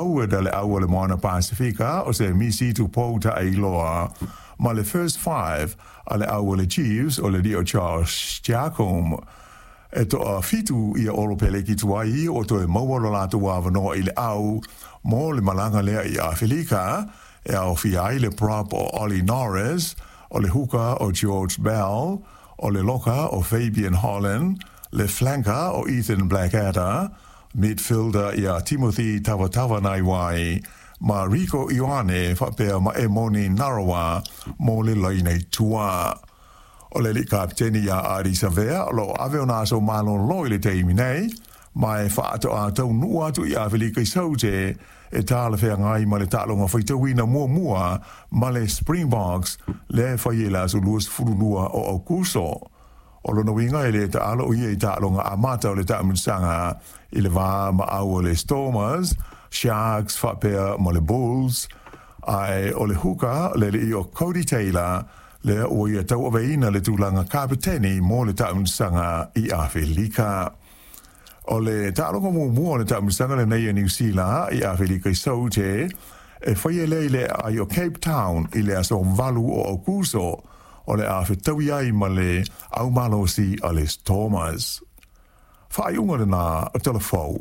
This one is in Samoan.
Forward a le au o le Moana Pasifika o Semisi Tupou Taeiloa, ma le First Five a le au o le Chiefs o le alii o Josh Jacomb. E toafitu ia Olopeleki tuai o toe maua lo latou avanoa i le au mo le malaga lea i Afelika, e aofia ai le prop o Ollie Norris, o le huka o George Bell, o le loka o Fabian Holland, le flanker o Ethan Blackadder, midfielder ia Timothy Tavatavanawai, ma Rieko Ioane faapea ma Emoni Narawa mo le laina i tua. O le alii kapeteni ia Ardie Savea o lo o ave ona aso malolo i le taimi nei, ma e faatoa taunuu atu i Afelika i Saute e talafeagai ma le taaloga faitauina muamua ma le Springboks lea e fai i le aso 22 o Aokuso. O lona uiga e le taalo o ia i taaloga amata o le taamilosaga i le va ma au o le Stormers, Sharks faapea ma le Bulls, ae o le huka le alii o Codie Taylor lea ua ia tauaveina le tulaga kapeteni mo le taamilosaga i Afelika. O le taaloga muamua o le taamilosaga lenei a Niu Sila i Afelika i Saute e faia lea i le aai o Cape Town i le aso 8 o Aokuso, o le a fetaui ai ma le au malosi a le Stormers. Faaiuga lena o Tala Fou.